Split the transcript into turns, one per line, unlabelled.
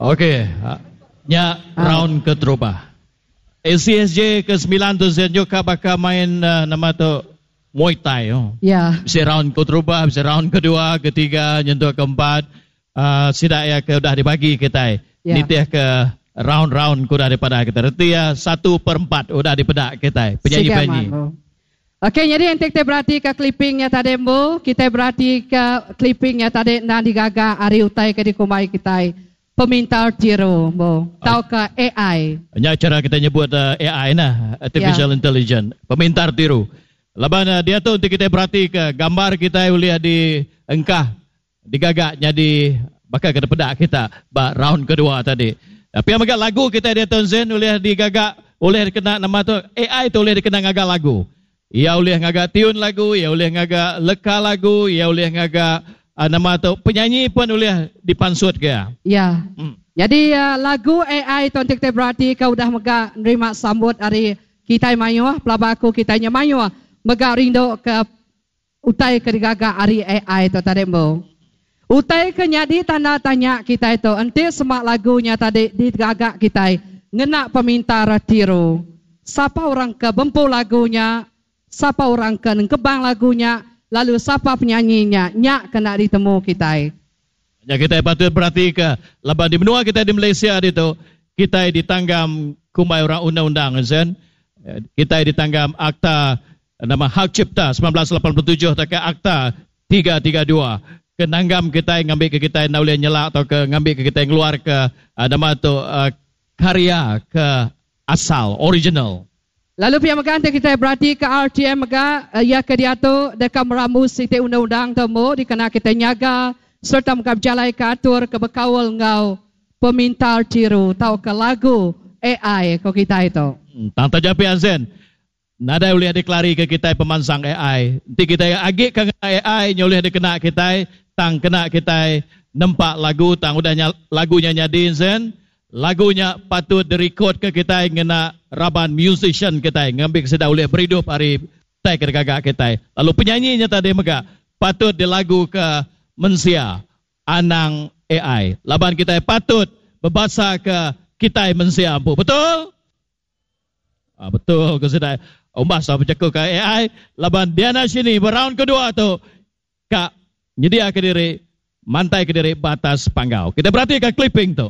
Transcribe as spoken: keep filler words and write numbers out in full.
Okey, nya round keterubah. A C S J ke sembilan tu juga bakal main uh, nama tu Muay Thai. Oh.
Ya.
Bisa round keterubah, bisa round kedua, ketiga, nyentuk keempat. Uh, sidak ya ke udah dibagi kita.
Ya.
Nitih ke round-round ke udah daripada kita. Reti ya satu per empat udah dipedak kita. Penyanyi-penyanyi.
Okey, jadi yang kita berarti ke clippingnya tadi bu, kita berarti ke clippingnya tadi nak digaga ari utai ke dikumai kita. Pemintar tiru, bu. Tau ke A I.
Nya cara kita nyebut uh, A I nah, artificial
Ya.
intelligence, pemintar tiru. Laban uh, dia tu untuk kita berarti ke gambar kita boleh di engkah digagak jadi bakal ke pedak kita ba round kedua tadi. Tapi yang megak lagu kita dia tu Zen boleh digagak, boleh kena nama tu A I tu boleh dikena ngagak lagu. Ia boleh ngagak tiun lagu, ia boleh ngagak leka lagu, ia boleh ngagak uh, nama tu penyanyi pun boleh dipansut ke.
Ya.
Hmm.
Jadi uh, lagu A I tu untuk kita berarti kau udah megak nerima sambut hari kita mayuh, pelaba aku kita nya mayuh megak rindu ke utai ke digagak hari A I tu tadi bu. Utai ke nyadi tanda tanya kita itu, enti semak lagunya tadi digagak kita ngena pemintar tiru. Siapa orang ke bempu lagunya, siapa orang ke nengkebang lagunya, lalu siapa penyanyinya, nyak kena ditemu kita.
Ya, kita patut berarti ke laban di benua kita di Malaysia itu kita ditanggam kumai orang undang-undang Zen. Kita ditanggam akta nama Hak Cipta seribu sembilan ratus lapan puluh tujuh atau ke Akta tiga tiga dua. Kenanggam kita ngambil ke kita nak boleh nyelak atau ke ngambil ke kita keluar ke uh, nama tu uh, karya ke asal original.
Lalu pihak megang kita berarti ke R T M mega ya ke dia tu dekat meramu siti undang-undang temu dikena kita nyaga serta mega berjalai ke atur ke bekawal ngau pemintar tiru tau ke lagu A I ko kita itu.
Hmm, tang taja Zen. Nadai boleh deklari ke kita pemansang A I. Nanti kita agik ke A I nyoleh dikena kita, tang kena kita nempak lagu tang udah lagunya nyadi Zen. Lagunya patut direkod ke kita ngena raban musician kita ngambil sedar boleh berhidup hari tai ke gagak kita. Lalu penyanyinya tadi mega patut dilagu ke mensia anang A I. Laban kita patut berbahasa ke kita mensia ampu. Betul? Ah, betul ke sedai. Umbah sa bercakap ke A I laban Diana sini round kedua tu kak nyedia ke diri mantai ke diri batas panggau. Kita berarti ke clipping tu.